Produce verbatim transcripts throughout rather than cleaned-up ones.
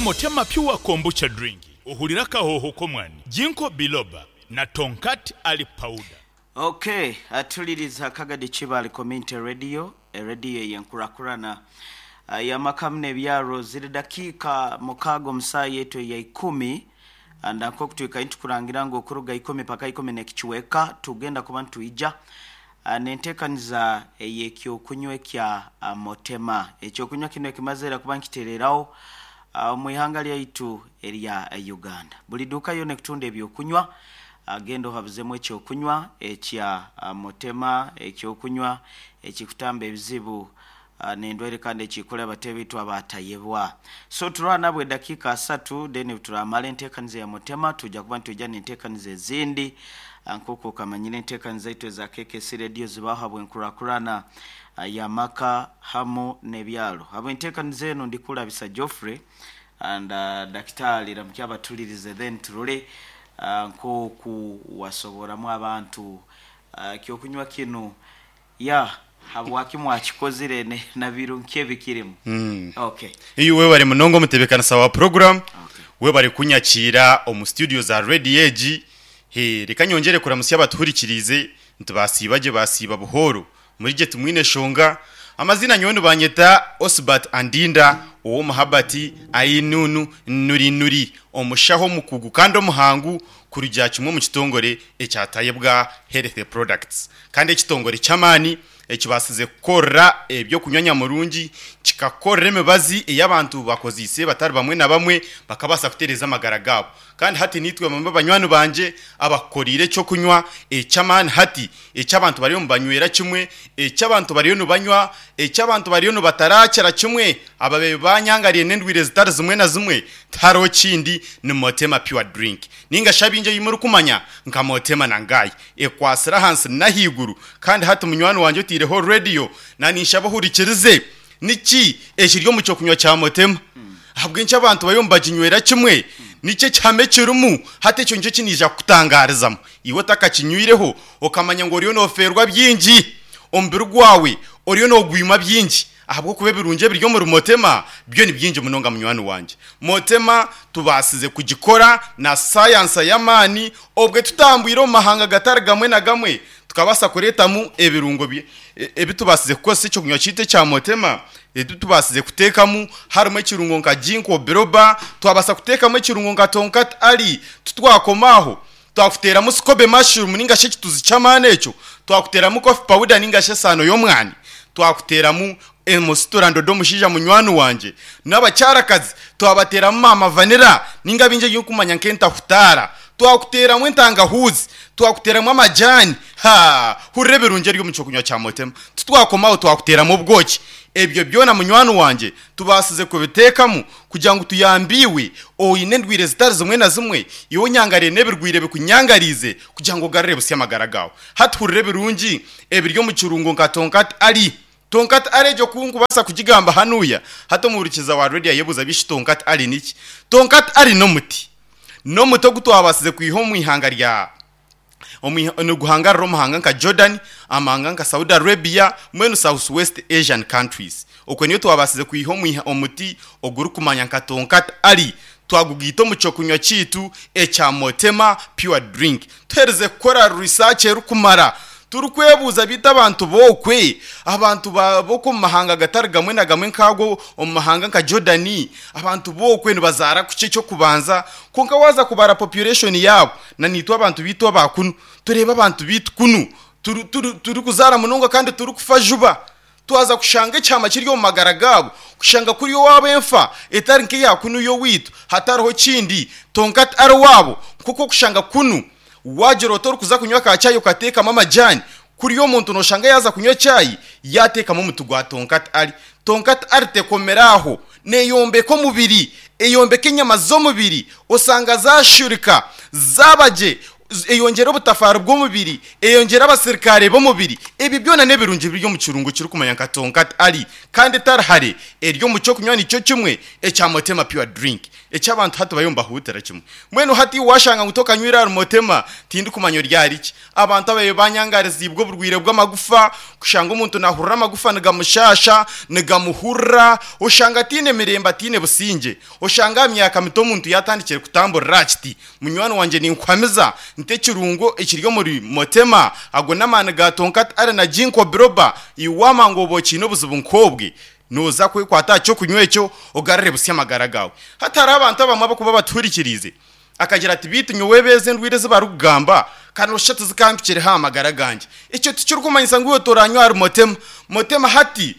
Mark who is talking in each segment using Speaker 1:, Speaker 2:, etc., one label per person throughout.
Speaker 1: Motema Pure Kombucha Drink, ohurire akahooho k'omwani, Ginkgo Biloba na Tongkat Ali Powder.
Speaker 2: Okay, atuliriza Kagadi Kibaale Community Radio, erediyo ey'enkurakurana y'amaka n'ebyaro. Ziri dakiika mukaaga omu saaha yaitu eya ikumi. Ndanka okutwika nitukurangira ngu okuruga ikumi paka ikumi n'ekicweka tugenda kuba nitwija n'enteekaniza ey'ekyokunywa ekya Motema. Ekyokunywa kinu ekimazire kuba nkitereraho omu ihanga lyaitu erya Uganda. Buli duuka yoona ekutunda ebyokunywa, genda ohabuzemu ekyokunywa ekya Motema, ekyokunywa ekikutamba ebizibu n'endwaire kandi ekikora abateebe abatayebwa. So turaba nabwe dakiika asatu, then turamara enteekaniza ya Motema, tujja kuba nitwija n'enteekaniza ezindi. Nk'oku okamanyire, enteekaniza zaitu eza K K C Radio zibaho habw'enkurakurana y'amaka hamu n'ebyaro. Habw'enteekaniza enu ndikurabisa Geoffrey and uh, Dakitari Ramukya abatulirize, then turole uh, nk'oku wasoboramu abantu uh, kyokunywa kinu ya habwaki mwakikozire ne- na birungi ebikirimu.
Speaker 3: Mm.
Speaker 2: Okay.
Speaker 3: Iyo webare munonga omutebekanisa wa program.
Speaker 2: Okay.
Speaker 3: Webare kunyakiira omu studio za radio egi. He, reka nyongere kuramusya abatuhurikirize nti basiiba gye, basiiba buhoro, muri gye tumwine shonga. Amazina nyowe nibanyeta Osbert Andinda ow'omuhabati ainunu nuri nuri, omushaho omukugu kandi omuhangu kurugira kimwe omu kitongore ekyatayebwa Health Products, kandi ekitongore ky'amaani ekibasize kukorera ebyokunywa nyamurungi, kikakorera emibazi ey'abantu bakoziise batari bamwe na bamwe bakabaasa kutereeza amagara gaabo. Kandi hati nitwe bamwe banywani banje abakorire ekyokunywa eky'amaani, hati eky'abantu bariyo nibanywera kimwe, eky'abantu bariyo nibanywa, eky'abantu bariyo nibatarakira kimwe ababe banyangariye n'endwire zitari zimwe na zimwe. Tihariho kindi, ni Motema Pure Drink, ninga shabingi ei murikumanya nka Motema na Ngai, ekwasire ahansi n'ahaiguru. Kandi hati munywani wanje otaireho radio, naninshaba ohurikirize niki ekiri omu kyokunywa kya Motema, ahabw'enki abantu bariyo nibaginywera kimwe, niki ekihame kirimu. Hati ekyo nikyo kiniija kukutangarizamu iwe otakakinywireho, okamanya ngu oriyo noferwa bingi, omubiri gwawe oriyo nogwima bingi, ahabw'okuba ebirungi ebiri omuri Motema byo ni bingi munonga. Munywani wanje, Motema tubaasize kugikora na sayansa y'amaani, obwe tutambwire omu mahanga gatari gamwe na gamwe, tukabaasa kureetamu ebirungo bye- e- ebi tubaasize kukozesa ekyokunywa kiitu ekya Motema. Ebi tubaasize kuteekamu harimu ekirungo nka ginkgo biloba, twabaasa kuteekamu ekirungo nka tongkat ali. Tutwakomaaho, twakuteeramu scobe mushroom ninga shi ekituzi ky'amaani ekyo, twakuteeramu coffee powder ninga shi esaano y'omwani, twakuteeramu emusiturandodo. Omushaija munywani wanje n'abakyarakazi, twabateeramu mama vanilla ninga bingi ebirikumanya nk'entahutaara, twakuteeramu entangahuzi, twakuteeramu amajani. Ha, hurira ebirungi eri omu kyokunywa kya Motema. Titwakomaho, twakuteeramu obwoki. Ebyo byona munywani wanje tubaasize kubiteekamu kugira ngu tuyambiwe oine endwire zitari zimwe na zimwe, iwe onyangariye n'ebirwire bikunyangarize, kugira ngu ogarure busya amagara gawe. Hati hurira ebirungi ebiri omu kirungo nka tongkat ali. Tongkat ali egyo kunkubaasa kugigamba hanuya, hati omuhurikiza wa radio ayebuuza bishi tongkat ali niki. Tongkat ali n'omuti, n'omuti ogu twabasize kwiha omu ihanga rya omu- niguhangarira omuhanga nka Jordan, amahanga nka Saudi Arabia, mwenu South West Asian countries. Okwe niyo twabasize kwiha omu- omuti ogurikumanya nka tongkat ali, twagugiita omu kyokunywa kiitu ekya Motema Pure Drink. Tuhereze kukora research erikumara, turikwebuuza biita abantu bokwe, abantu ba- b'oku omu mahanga gatari gamwe na gamwe nkago, omu mahanga nka Jordan, abantu bokwe nibazaara kuki ekyokubanza. Konka waza kubara population yabo na nitwe abantu biitu abakunu, turebe abantu biitu kunu turi- turi turi kuzaara munonga kandi turi kufa juba. Twaza kushanga ekyama kiri omu magara gaabo, kushanga kuri owaabo enfa etari nk'eya kunu y'owaitu. Hatariho kindi, tongkat ali waabo nkuko kushanga kunu wagira oti orikuza kunywa ka chai ukateekamu amajani, kuri omuntu noshanga yaza kunywa chai yateekamu omuti gwa tongkat ali. Tongkat ali tekomera aho, neyombeka omubiri, eyombeka enyama z'omubiri, osanga zashurika zabagye. Eyongera obutafaari bw'omubiri, eyongera abasirikare b'omubiri. Ebi byona n'ebirungi biri omu kirungo kirikumanya nka Tonkat Ali, kandi tarihare eri omu kyokunywa nikyo kimwe ekya Motema Pure Drink eky'abantu hati bariyo nibahuutira kimwe. Mbwenu hati washanga ngu tokanywire ahari Motema, tindikumanya ori ahari ki. Abantu ababaire banyangarizibwe oburwaire bw'amagufa, kushanga omuntu nahurira amagufa nigamushasha, nigamuhurira, oshanga ataine mirembe, ataine busingye. Oshanga aha myaka mito omuntu yatandikire kutamburira aha kiti. Munywani wangye, ninkuhamiza nti ekirungo ekiri omuri Motema, ago n'amaani ga Tonkat Ali na Ginkgo Biloba, iwe ngu oba okiine obuzibu nk'obwe, noza kwekwata aha kyokunywa ekyo ogarure busya amagara gawe. Hati hariho abantu abamwe abakuba batuhurikiriize akagira ati, "Bitu nyowe beeze endwire ezi barikugamba kandi osha tizikampikireho aha magara gangye." Ekyo tikirikumanyisa ngu iwe toranywa ahari Motema. Motema hati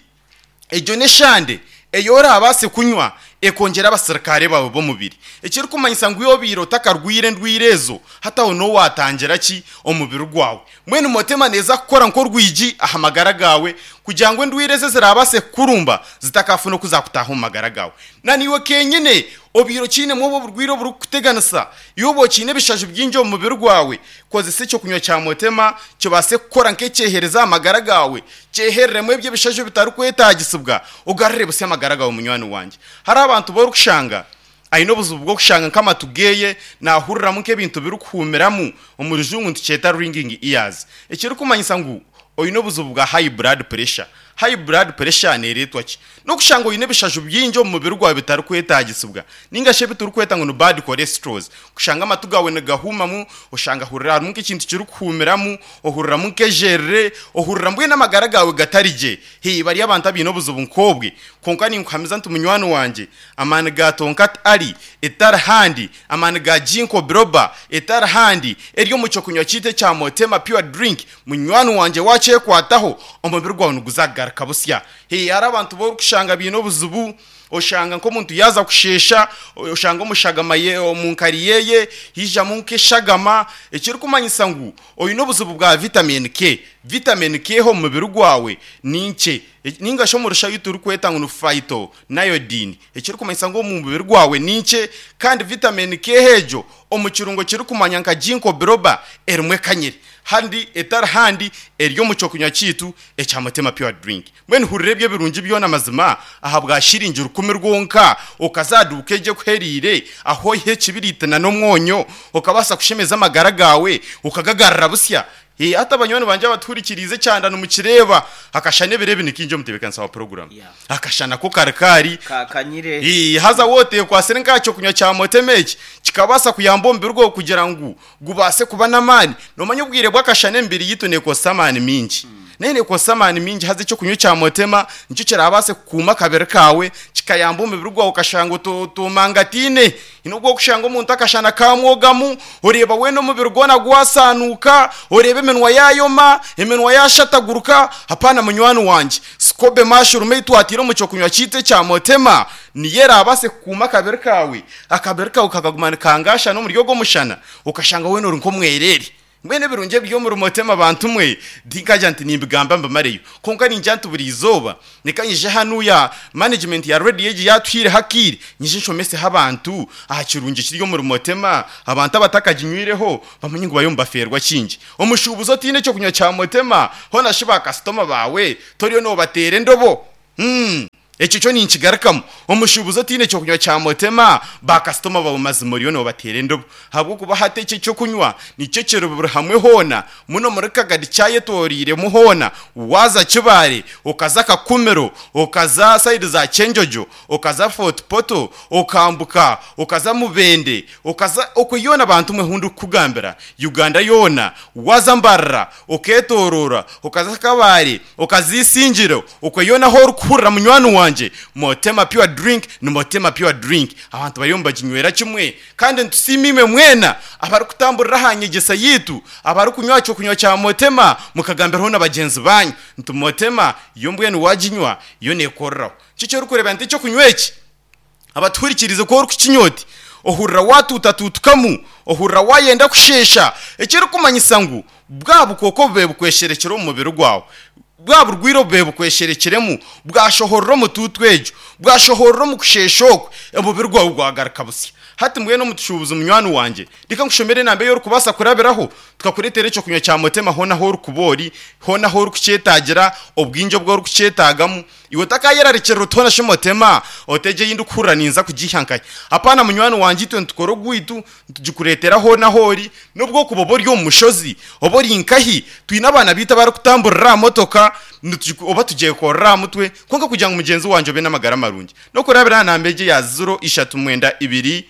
Speaker 3: egyo n'eshande eyo orabaase kunywa ekongera abasirikare bawe b'omubiri, ekirikumanyisa ngu obiire otakarwire endwire ezo, hataho n'owatangira ki omubiri gwawe. Mbwenu Motema neeza kukora nk'orwigi aha magara gawe kugira ngu endwire eze zirabaase kukurumba zitakafuna okuzakutaha omu magara gawe. Na niiwe kenyine obiire okiinemu obwo oburwire oburikukuteganisa, iwe oba okiine ebishaju bingi omu mubiri gwawe, kozesa ekyokunywa kya Motema kibaase kukora nk'ekyehereza aha magara gawe, kyehereremu ebyo ebishaju bitarikwetagisibwa, ogarure busya amagara gawe. Munywani wangye, hariho abantu borikushanga aine obuzibu bw'okushanga nk'amatu geye nahuriramu nk'ebintu birikuhumiramu, omu Rujungu nitukyeta ringing ears, ekirikumanyisa ngu oine obuzibu bwa high blood pressure. High blood pressure neeretwa ki? N'okushanga oine ebishaju bingi omu mubiri gwawe bitarikwetagisibwa, ninga shi ebi turikweta ngu ni bad cholesterols, kushanga amatu gawe nigahumamu, oshanga hurira harimu nk'ekintu kirikuhumiramu, ohuriramu nk'ejerere, ohurira mbwenu amagara gawe gatari gye. Hei, bari abantu abaine obuzibu nk'obwe. Konka ninkuhamiza nti munywani wangye, amaani ga Tonkat Ali etari handi, amaani ga Ginkgo Biloba etari handi, eri omu kyokunywa kiitu ekya Motema Pure Drink, munywani wangye, wakyekwataho omubiri gwawe niguza kugaruka busya. Hei, hari abantu borikushanga biine obuzibu, oshanga nk'omuntu yaza kushesha, oshanga omushagama ye omu nkari yeye hijamu nk'eshagama, ekirikumanyisa ngu oine obuzibu bwa vitamin K. Vitamin K ho omu mubiri gwawe ni nkye, ninga shi omu rushayo turikweta ngu ni phytonadione, ekirikumanyisa ngu omu mubiri gwawe ni nkye. Kandi vitamin K egyo omu kirungo kirikumanya nka Ginkgo Biloba erimu ekanyire, handi etari handi eri omu kyokunywa kiitu ekya Motema Pure Drink. Mbwenu hurira ebyo ebirungi byona mazima aha bwa shiringi rukumi rwonka, okazaduuka egyo ekuheriire aho oihe ekibiriiti na n'omwonyo, okabaasa kushemeza amagara gawe ukagagarura busya. Eh, hati abanywani banje abatuhurikiriize, ekyanda nimukireeba akashana ebiro ebi nikingi omutebeekanisa wa program.
Speaker 2: Yeah.
Speaker 3: Akashana ko karikari.
Speaker 2: Ka- kanyire
Speaker 3: Eh, haza wote kwasire nkakyo kunywa kya Motema eki kikabasa kuyamba omubiri gwawe kugira ngu gubase kuba n'amaani. Nomanya obwire bw'akashana emibiri yitu nekosa amaani mingi, naye nekosa amaani mingi, haza ekyokunywa kya Motema nikyo kirabase kukuuma akabiri kawe, kikayamba omubiri gwawe, ukashanga otomangatine nubwo kushanga omuntu akashana kamwogamu, oreeba wena omubiri gwona gwasanuka, oreeba eminwa yayoma, eminwa yashataguruka. Hapana, munywani wanje, SCOBY mushroom eitwatire omu kyokunywa kiitu ekya Motema niyo erabase kukuuma akabiri kawe, akabiri kawe kakaguma nikangasha n'omuri ogwo mushana, ukashanga wena ori nk'omwerere. Mbwenu ebirungi ebiri omuri Motema, bantu mwe, tinkagira nti nimbigamba mbimareyo, konka ningira nti buri izooba nika nyije hanuya management ya radio egi yatuhiire hakiire, nyije nshomeseho abantu aha kirungi kiri omuri Motema. Abantu abatakaginywireho bamenye ngu bariyo nibaferwa kingi. Omushuubuzi otiine ekyokunywa kya Motema, hona shi bakasitoma bawe toriyo nobateera endobo Hmm. Ekyo kyo ninkigarukamu: omushuubuzi otiine ekyokunywa kya Motema, bakasitoma bawe mazima oriyo nobateera endobo, habwokuba hati ekyo ekyokunywa nikyo kiri buri hamwe hoona muno muri Kagadi, kyayetoreiremu hoona. Waza Kibaare, okaza Kakumiro, okaza side za Kyenjojo, okaza Fort Portal, okambuka okaza Mubende, okaza okwe yoona, bantu mwe hundi kukugambira Uganda yoona, waza Mbarara, oketorora, okaza Kabare, okaza Isingiro, okwe yoona aho orikuhurira, munywani wanje, Motema Pure Drink ni Motema Pure Drink. Abantu bariyo nibaginywera kimwe, kandi nitusiima imwe mwena abarikutamburira aha nyegyesa yitu, abarikunywa kyokunywa kya Motema, mukagambiraho na bagenzi banyu nti Motema yo mbwenu waginywa yo nekoreraho. Kikyo orikureeba nti ekyokunywa eki, abatuhurikirize, ko orikukinywa oti ohurira watuutatuutukamu, ohurira wayenda kushesha, ekirikumanyisa ngu bwa bukooko bube bukwesherekera omu mubiri gwawe, bwa burwire bube bukwesherekeremu bwashohorera omutuutu egyo. Bwashohorera omu kusheesha okwe, omubiri gwawe gwagaruka busya. Hati mbwenu omutushuubuzi munywani wangye, reka nkushomere enamba ei orikubaasa kurabiraho tukakureetera ekyokunywa kya Motema hoona ahu orikuba ori, hoona ahu orikukyetaagira, obwingi obu orikukyetaagamu. Iwe otakayerarikirira oti hoona shi Motema otegye ei ndikuhurira ninza kugiiha nkahi. Apaana munywani wangye, itwe nitukora ogwaitu, nitugikureetera hoona ahu ori, n'obu okuba oba ori omu mushozi, oba ori nkahi, twine abaana baitu abarikutamburira aha motoka, oba tugyekorera aha mutwe, kwonka kugira ngu mugyenzi wangye obe n'amagara marungi. N'okurabira aha namba egi eya ziro ishatu mwenda ibiri,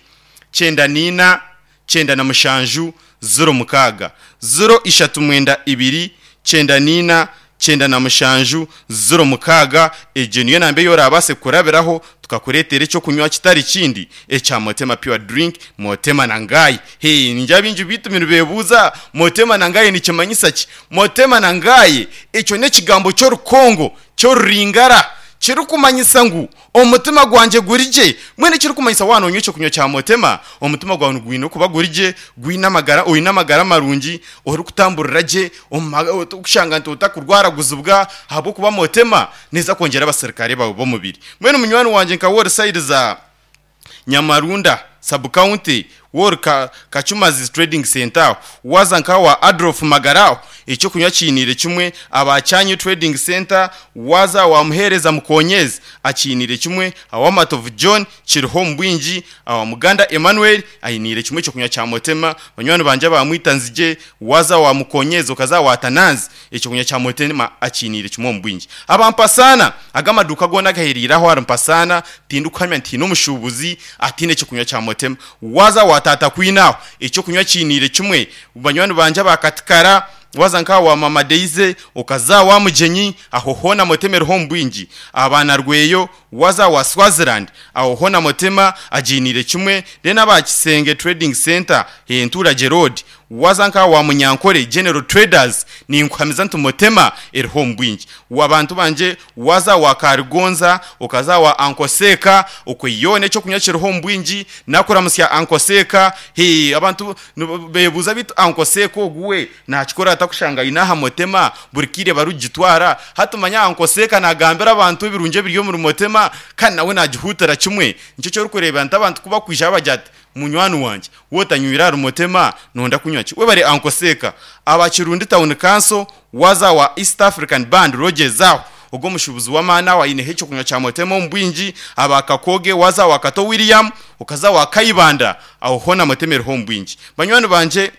Speaker 3: kyenda niina, kyenda na mushanju, ziro mukaaga. Ziro ishatu mwenda ibiri, kyenda niina, kyenda na mushanju, ziro mukaaga. Egyo niyo namba ei orabaase kurabiraho tukakureetera ekyokunywa kitari kindi ekya Motema Pure Drink, Motema na Ngai. Hee, ningira baingi baitu nibeebuuza Motema na Ngai nikimanyisa ki? Motema na Ngai ekyo n'ekigambo ky'orukongo ky'oruringara kirikumanyisa ngu omutima gwangye guri gye. Mbwenu ekirikumanyisa waaba noonywa ekyokunywa kya Motema, omutima gwawe nigwine kuba guri gye, gwine amagara, oine amagara marungi, orikutamburira gye, orikushanga nti otakurwaraguzibwa ahabw'okuba Motema neeza kwongyera abasirikare bawe b'omubiri. Mbwenu munywani wangye nka we ori sayidi za Nyamarunda sub-county, we ori Kacumazi Trading Centre aho, waaza nka wa Adolf Magara aho, ekyokunywa kiiniire kimwe, aba Kyanyu Trading Centre, waaza wa Muheereza Mukonyezi akiiniire kimwe, awa Matovu John kiriho omu bwingi, awa Muganda Emmanuel ainiire kimwe ekyokunywa kya Motema, banywani bangye aba Mwita Nzigye, waaza wa Mukonyezi okaza wa Tananzi, ekyokunywa kya Motema akiiniire kimwe omu bwingi. Aba Mpasaana, aga amaduuka goona agahereire aho ahari Mpasaana, tindikuhamya nti haine omushuubuzi ataine ekyokunywa kya Motema. Waaza wa Tata Kwine aho, ekyokunywa kiiniire kimwe, banywani bangye aba Katikara, waza nka wa Mama Deize, okaza wa Mugyenyi, aho hoona Motema eriho omu bwingi. Abaana Rweyo, waza wa Swaziland, aho hoona Motema agiiniire kimwe. Then aba Kisenge Trading Centre, Enturagye Road, waza nka wa Munyankore General Traders, ninkuhamiza nti Motema eriho omu bwingi. Abantu bangye, waza wa Karigonza, okaza wa Ankoseka, okwe yoona ekyokunywa kiriho omu bwingi, nakuramusya Ankoseka. Hee, abantu beebuuza beitu Ankoseka ogu we nakikora atakushanga aine aha Motema, buri kaire barikugitwara. Hati manya Ankoseka nagambira abantu ebirungi ebiri omuri Motema, kandi nawe nagihuutira kimwe. Nikyo ekyorikureeba nti abantu ku bakwija bagira ati munywani wangye, wootanywire ahari Motema, nonda kunywa ki? Webare Ankoseka. Aba Kirundi Town Council, waza wa East African Band Rogers aho, ogwo omushuubuzi w'amaani aho aineho ekyokunywa kya Motema omu bwingi. Aba Kakoge, waza wa Kato William, okaza wa Kayibanda, aho hoona Motema eriho omu bwingi. Banywani bangye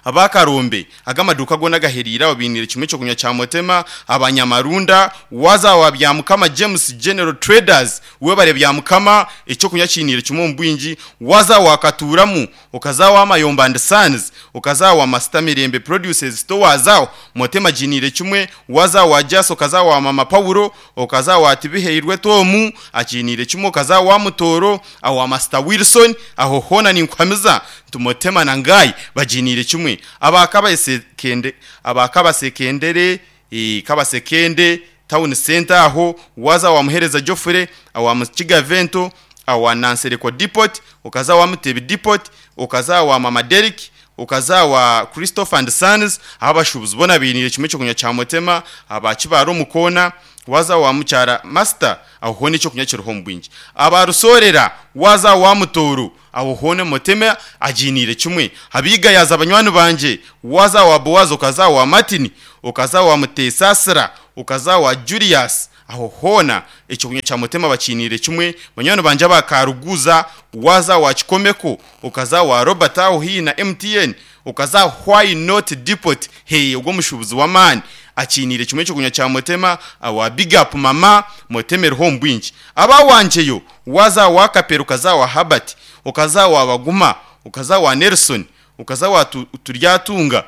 Speaker 3: aba Karombe, aga amaduuka goona agahereire aho bainiire kimwe ekyokunywa kya Motema. Abanyamarunda, waza wa Byamukama James General Traders, webare Byamukama, ekyokunywa kiiniire kimwe omu bwingi. Waza wa Katuramu, okaza wa Mayomba and Sons, okaza wa Master Mirembe Produces Stores aho, Motema giniire kimwe. Waza wa Jas, okaza wa Mama Paulo, okaza wa Tibiheirwe Tomu, akiniire kimwe, okaza wa Mutoro, aho wa Master Wilson, aho hoona ninkuhamiza nti Motema na Ngai baginiire kimwe. Aba Kabasekende, aba Kabasekendere, eh, Kabasekende Town Center aho, waza wa Muhereza Geoffrey, awa Mukiga Vento, awa Nansereko Depot, okaza wa Mutebi Depot, okaza wa Mama Derrick, okaza wa Christopher and Sons, abashubuzi bona binire kimwe ekyokunywa kya Motema. Aba Kibaro Mukona, waza wa Mukyara Master, aho hoona ekyokunywa kiriho omu bwingi. Aba Rusorera, waza wa Mutoro, aho hoona Motema aginiire kimwe. Abiga yaza banywani bangye, waza wa Boaz, okaza wa Martin, okaza wa Mutesasira, okaza wa Julius, aho hoona ekyokunywa kya Motema bakiniire kimwe. Banywani bangye aba Karuguza, waza wa Kikomeko, okaza wa Robert aho haihi na M T N, okaza Why Not Depot, hey, ogwo omushuubuzi w'amaani akiniire kimwe ekyokunywa kya Motema. Awa Big Up Mama, Motema eriho omu bwingi. Aba wangyeyo, waza wa Kapero, okaza wa Habert, okaza wa Baguma, okaza wa Nelson, okaza wa Turyatunga,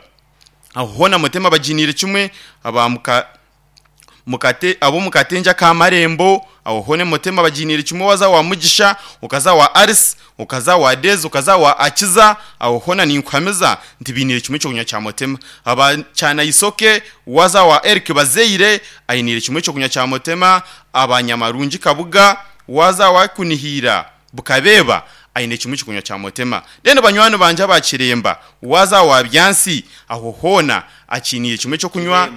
Speaker 3: aho hoona Motema baginiire kimwe. Aba muka mukate abo mukatenja ka Marembo, aho hoona Motema baginiire kimwe. Waza wa Mugisha, okaza wa Aris, okaza wa Dez, okaza wa Akiza, aho hoona ninkuhamiza nti biniire kimwe ekyokunywa kya Motema. Aba Kyana Isoke, waza wa Eric Bazeire, ainiire kimwe ekyokunywa kya Motema. Abanyamarungi Kabuga, waza wa Kunihira Bukabeba, aine kimwe kikunywa kya Motema. Then banywani banje abakiremba waza wa byansi aho hona akiniye kimwe cyo kunywa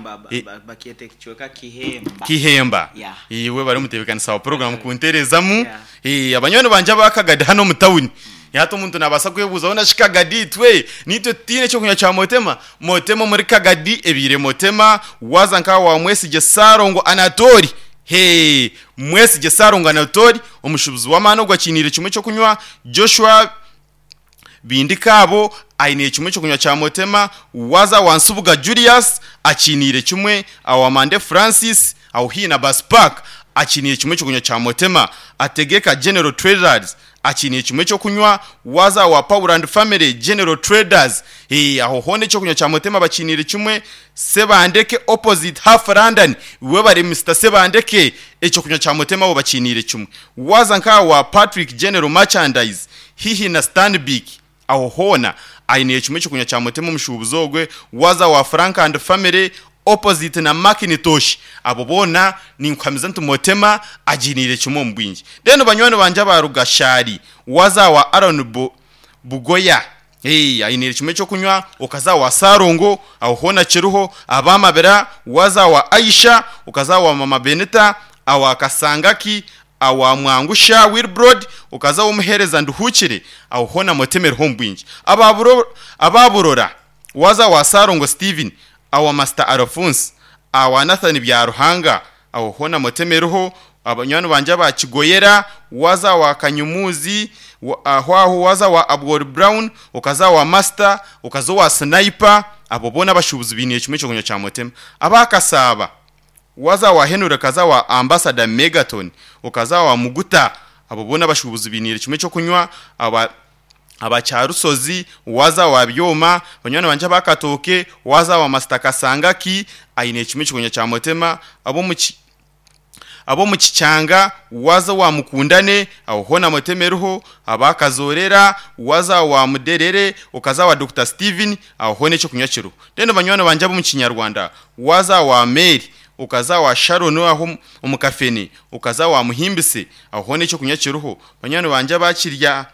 Speaker 2: bakiete kichweka kihemba
Speaker 3: kihemba
Speaker 2: Yeah.
Speaker 3: iwe bari mutebekanisa wa program kunterezamu
Speaker 2: Yeah.
Speaker 3: eh abanywani banje abakagadi hano mu town yato omuntu nabasa kwebuza ona shikagadi twe nitwe tine cyo kunywa kya Motema. Motema muri Kagadi ebire Motema waza nka wa Mwesige Sarongo Anatori. Hey, Mwesige Sarongo Anatori omushubuzi w'amano gwakinire kimwe cyo kunywa. Joshua Bindikabo aine kimwe cyo kunywa kya Motema. Waza wansubuga Julius akinire kimwe. Awamande Francis auhina Bus Park akinire kimwe cyo kunywa kya Motema. Ategeka General Traders akinire kimwe cyo kunywa. Waza wa Power and Family General Traders eh aho hone cyo kunywa kya Motema bakinire kimwe. Sebandeke opposite half London we bari Mister Sebandeke ecyo kunywa kya Motema bo bakinire kimwe. Waza nka wa Patrick General Merchandise hihi na Stanbic aho hona aine kimwe cyo kunywa kya Motema omushubuzo gwe. Waza wa Frank and Family opposite na Macintosh abo bona ni nkwamiza nti Motema aginire kimwe mu bwingi. Then banywani banje abarugashari waza wa Aaron Bo, Bugoya hey aine kimwe cyo kunywa. Okaza wa Sarongo aho hona kiruho abamabera. Waza wa Aisha okaza wa Mama Benita awa Kasangaki awa Mwangusha Wilbrod ukaza umuhereza nduhukire aho hona Motemero hombwingi. Ababuro ababurora waza wa Sarongo Steven awa Master Alphonse awa Nathan Byaruhanga aho hona Motemero. Abanywani banje abakigoyera waza wa Kanyumuzi aho aho waza wa Abwor Brown ukaza wa Master ukaza wa Sniper abo bona bashubuzi biniye kimwe cyo kunywa kya Motema. Abakasaba waza wa Henry kaza wa Ambassador Megaton ukaza wa Muguta abo bona bashubuzi binire kimwe cyo kunywa. Aba abacyarusozi waza wa Byoma banywani banje bakatoke waza wa Master Kasangaki aine kimwe cyo kunywa kya Motema. Abo mu abo mu Kicyanga waza wa Mukundane aho hona Motemeruho. Abakazorera waza wa Muderere ukaza wa Doctor Steven aho hone cyo kunywa kiru. Then banywani banje abo mu Kinyarwanda waza wa Mary ukaza wa Sharon aho umukafeni ukaza wa Muhimbise aho hone cyo kunywa kiruho. Banywani banje bakirya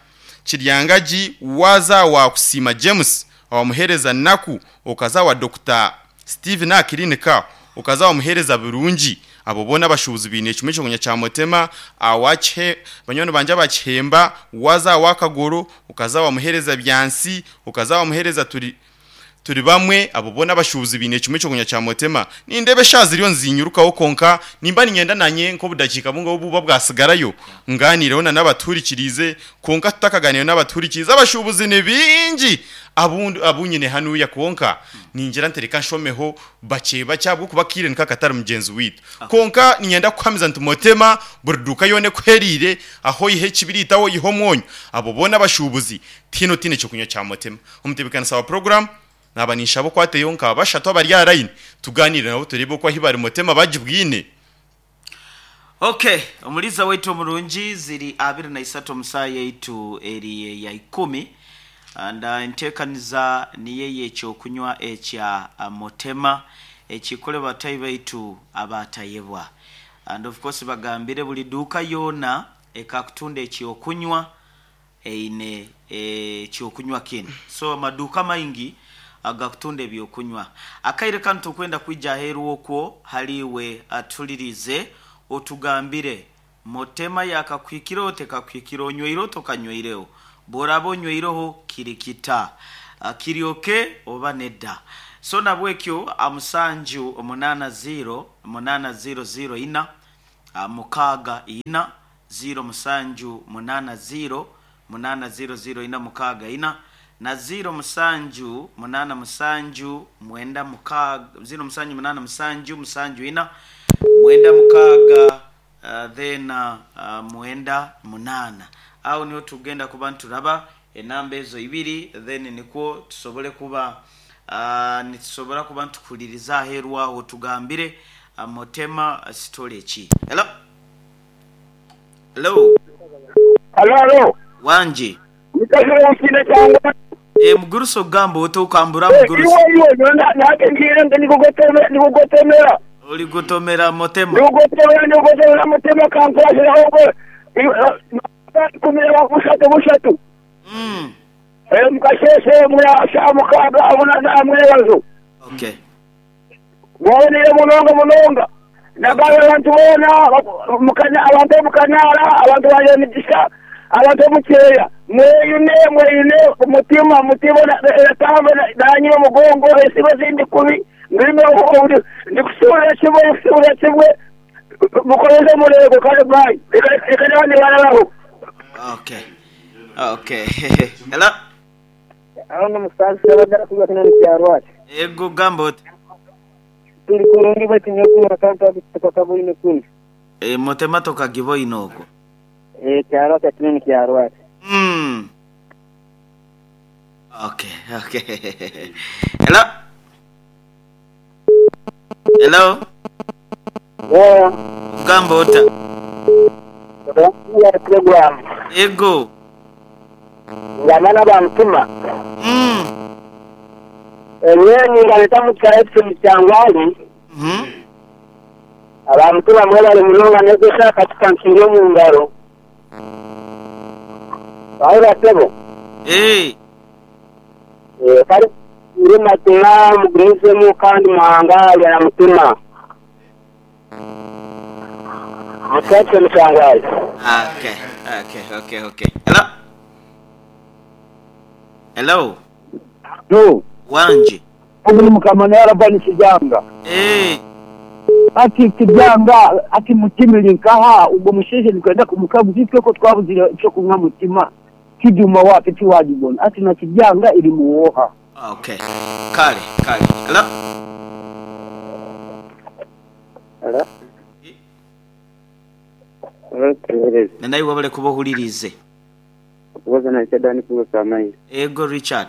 Speaker 3: Kiryangaji waza wa Kusima James awa muhereza Naku ukaza wa Doctor Steven Akirinika ukaza wa muhereza Burungi abo bona bashubuzi bine kimwe cyo kunywa kya Motema. Awache banywani banje bakihemba waza wa Kagoro ukaza wa muhereza Byansi ukaza wa muhereza turi turi bamwe abo bona bashubuzi bine kimwe cyo kunywa kya Motema. Nindebe shaziriyo nzinyurukaho konka nimba ningenda nanye nko budakika bungo buba bwasigarayo nganireho na nabaturikirize konka tutakaganira n'abaturikirize abashubuzi ni bingi abundu abunyine hanuya konka ningira ntereka nshomeho bake bacyabwo kubakire nkakatari mugenzi witu konka ninyenda kwamiza nti Motema burduka yone kwerire aho ihe kibiritaho iho mwonyo abo bona bashubuzi tino tine cyo kunywa kya Motema. Umutebekana sawa program naba nishabo kwateyo nka bashatu abari araine tuganire nabo turebe ko ahibari Motema bagibwine.
Speaker 2: Okay, omuliza wetu omurungi ziri abiri na isatu omusaaya yaitu eri ya ikumi and enteekaniza niye ekyokunywa ekya Motema ekikole batayi baitu abatayebwa and of course bagambire buli duuka yona ekakutunda ekyokunywa eine ekyokunywa kino so amaduuka maingi agakutunda ebyokunywa akaire kanu tukwenda kwija aheeru okwo haliwe atulirize otugambire Motema yakakwikira tekakwikira onyweire tokanywireho bworaba onyweireho kirikita kiryoke oba nedda. So nabwekyo amusanju omunana zero munana zero zero ina mukaaga ina zero musanju munana zero munana zero zero ina mukaaga ina na zero musanju munana musanju mwenda mukaaga zero musanju munana musanju musanju ina mwenda mukaaga uh, then uh, uh, mwenda munana awo niho tugenda kuba nturaba enamba ezo ibiri then nikwo tusobole kuba uh, nitusobora kuba ntukuliriza aheeru aho tugambire uh, Motema sitole ki. Hello hello
Speaker 4: Halo halo
Speaker 2: wanje
Speaker 4: nikashira mukine cyangwa
Speaker 2: e muguruso ogamba otokambura muguruso
Speaker 4: iwe iwe nake ngira ngo nikugotemera nikugotemera
Speaker 2: uri gutomera Motema
Speaker 4: nikugotemera nikugotemera Motema kankwashira ahubwo Ikumi na bushatu bushatu.
Speaker 2: Mm.
Speaker 4: Eh mukasheshe mwa mukaga abona namwebazo.
Speaker 2: Okay.
Speaker 4: Mwone munonga munonga. Nagawe abantu bona mukana abantu mukanara abantu baje migisha abantu mukeya mweyune mweyune mutima mutima natamba nanyi mugongo esibe zindi kubi ndimo ndikusura kimwe kusura kimwe mukoreze murego kandi bye reka n'abandi barabaho.
Speaker 2: Okay. Okay. Hello.
Speaker 4: Aho musaza bagara kuba kinani cyarwaje.
Speaker 2: Ego gambo
Speaker 4: tuli kurungi bati nyokuru akanta tukakabuli nekundi.
Speaker 2: Eh motema tokagibo inoko.
Speaker 4: Eh cyarwaje kinani cyarwaje.
Speaker 2: Mm. Okay, okay. Hello. Hello.
Speaker 4: Yeah.
Speaker 2: Gambo ota.
Speaker 4: Ya program.
Speaker 2: Ego.
Speaker 4: Ngamana ba mtuma.
Speaker 2: Mm.
Speaker 4: Enye ngaleta mutsaetse cyangwali.
Speaker 2: Mhm.
Speaker 4: Abamtuma mwela munonga nezesha katika nkingo mu ngaro. Aho tebo.
Speaker 2: Eh.
Speaker 4: Eh kari uri matuma mugrize mu kandi muhanga ya mutuma. Mutsaetse cyangwali.
Speaker 2: Okay, okay, okay, okay. Hello. Hello.
Speaker 5: No.
Speaker 2: Wanje.
Speaker 5: Ubu mukamana yarabani kijanga.
Speaker 2: Eh.
Speaker 5: Ati kijanga ati mutimiri nkaha ubwo musheje nikwenda kumukabu ko twabuzira cyo kunywa mutima kijuma wapi tiwajibona ati na kijanga iri muwoha.
Speaker 2: Okay. Kale, kale. Hello.
Speaker 4: Hello.
Speaker 2: Nanayi wabale kubohulirize.
Speaker 4: Kubaza na chadani kuba samayi.
Speaker 2: Ego Richard.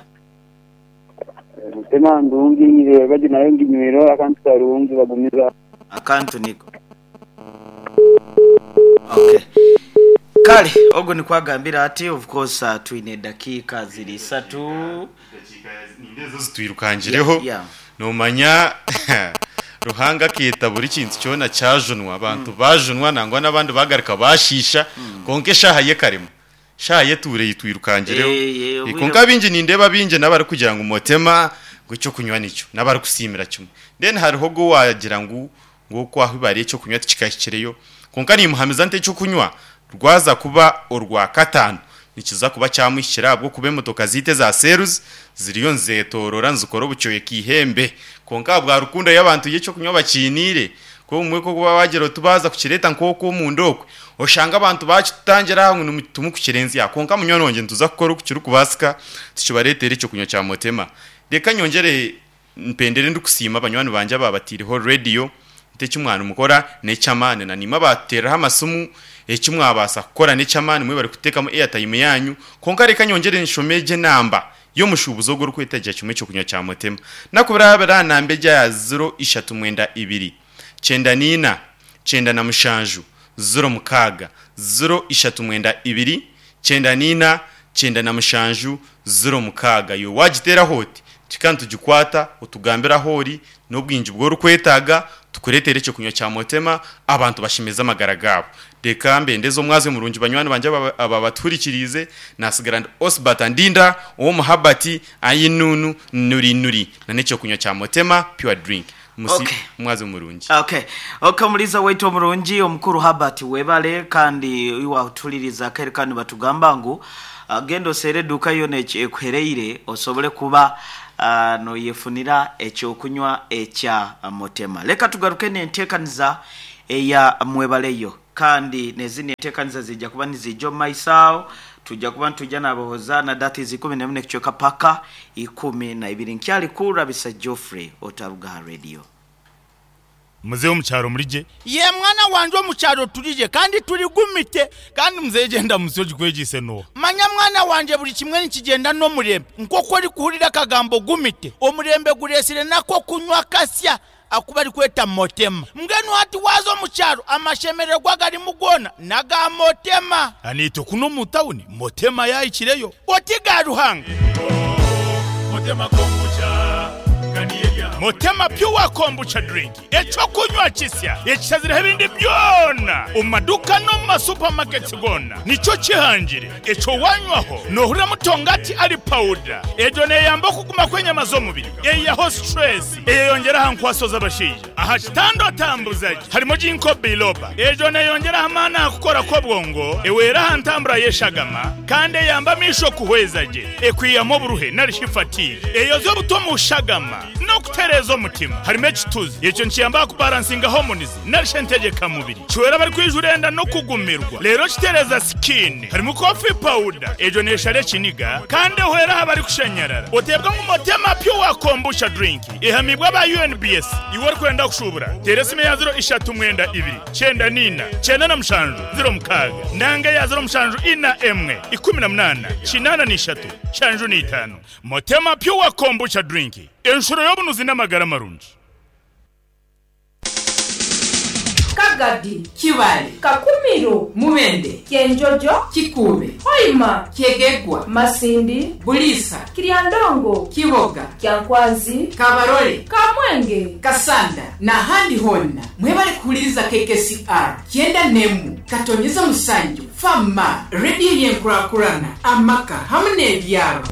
Speaker 4: Mutema ndungi ile baji nayo nginywero akantu karungi bagumiza
Speaker 2: akantu niko. Okay. Kale ogo ni kwagambira ati of course uh, twine dakika ziri satu
Speaker 3: dakika nindezo zitwirukangireho.
Speaker 2: Yeah, yeah.
Speaker 3: Nomanya Ruhanga kita buri kintu cyona cyajunwa abantu mm. bajunwa nangwa nabandi bagarika bashisha mm. konke shahaye karimo shaye ture yitwirukangireho
Speaker 2: e, e,
Speaker 3: konka bingi nindeba bingi nabari kugira ngo motema ngo cyo kunywa nicyo nabari kusimira kimwe then hariho go wagira ngo ngo kwaho ibariye cyo kunywa kikashyikireyo konka ni muhamiza nte cyo kunywa rwaza kuba urwa katanu nikiza kuba cyamwishyira bwo kuba emotoka zite za seruzi ziriyo nzetorora nzukora bucyoye kihembe konka bwa rukundo y'abantu ye cyo kunywa bakinire ko umwe ko kuba wagero tubaza kukireta nkoko mu ndokwe oshanga abantu bakitangira hamwe n'umutumu kukirenzi ya konka munyononge ntuza gukora ukiri kubasika tukibaretere icyo kunywa cya motema reka nyongere mpendere ndukusima abanywani banje babatiriho radio ntecyo umwana umukora necamane na nima bateraho amasumu ecyo mwabasa gukora necamane mwe bari kutekamo airtime yanyu konka reka nyongere nshomeje namba yo mushubuzo gwo kwitaje kimwe cyo kunywa cya motema nakubira nambe ya zero ishatu mwenda ibiri chenda nina chenda na mushanju zero mukaga zero ishatu mwenda ibiri chenda nina chenda na mushanju zero mukaga yo wagitera hoti tikantu tugikwata utugambira hori n'ubwinji bwo rukwetaga tukuretere cyo kunywa cya motema abantu bashimeza amagara gabo reka mbendezo mwaze murungi banywani banje aba baturikirize nasigarand Osbert Ndinda uwo muhabati ayinunu nuri nuri na necyo kunywa cya motema pure drink musi
Speaker 2: Okay.
Speaker 3: mwaze murungi.
Speaker 2: Okay. Okay muliza wetu murungi omukuru Habert webale kandi iwa utuliriza kare kandi batugamba ngu uh, gendo sere duka yone ekwereire osobole kuba uh, no yefunira ekyo kunywa ekya motema. Leka tugaruke nentekaniza eya mwebaleyo kandi nezini entekaniza zijja kuba nizijjo maisao tujja kuba ntujja nabohoza na dati zikumi na mne kuchoka paka ikumi na ibiri nkyali kura bisa Geoffrey Otaruga Radio.
Speaker 1: Muzehe omukyaro murije ye mwana wanje omukyaro turije kandi turigumite kandi muzehe genda musoji kwegise no manya mwana wanje buri kimwe nikigenda no murembe nkoko uri kuhurira akagambo gumite omurembe guresire nako kunywa kasya akuba ari kweta motema mbwenu hati wazo omukyaro amashemererwa gari mugona naga motema anito kuno mu tawuni motema yayikireyo oti ga Ruhanga
Speaker 6: Motema kombucha
Speaker 1: Motema Pure Kombucha drink ekyokunywa kisya ekishazireho ebindi byona omu maduka no mu masupamaketi gona nikyo kihangire ekyo wanywaho nohurira mutongati ari powder egyo neyamba okuguma kw'enyama z'omubiri eyaho stress eyeyongera aha nkwaso z'abashaija aha kitanda otambuzaje harimo ginkgo biloba egyo neyongera amaani aha kukora kw'obwongo ewera aha ntambura y'eshagama kandi eyamba amaisho kuhweza gye ekwiyamu oburuhe narishi fatigue eyoza obuto mu shagama n'okutereeza omutima harimo ekituzi ekyo nikiyamba kubalansinga hormones narishi entegekamubiri kiwera bari kwijura enda n'okugumirwa rero kitereza skin harimo coffee powder egyo neshara ekiniga kandi ehwera aha bari kushanyarara oteebwa ngu Motema Pure Kombucha drink ehamibwa aba U N B S. Iwe orikwenda kushubura, tera esimu ya ziro ishatu mwenda ibiri cyenda nina cyenda na mushanju ziro mukaaga nanga ya ziro mushanju ina emwe ikumi na munana kinana n'ishatu shanju n'itanu. Motema Pure Kombucha drink, enshuro y'obunuzi n'amagara marungi.
Speaker 6: Kagadi,
Speaker 7: Kibale,
Speaker 6: Kakumiro,
Speaker 7: Mubende,
Speaker 6: Kyenjojo,
Speaker 7: Kikuube,
Speaker 6: Hoima,
Speaker 7: Kyegegwa,
Speaker 6: Masindi,
Speaker 7: Bulisa,
Speaker 6: Kiryandongo,
Speaker 7: Kiboga,
Speaker 6: Kyankwanzi,
Speaker 7: Kabarole,
Speaker 6: Kamwenge,
Speaker 7: Kasanda n'ahandi honna mwebale kuhuliriza K K C R kyenda nemu katonyeza musanju fama rediyo yenkurakurana amaka hamwe n'ebyaro.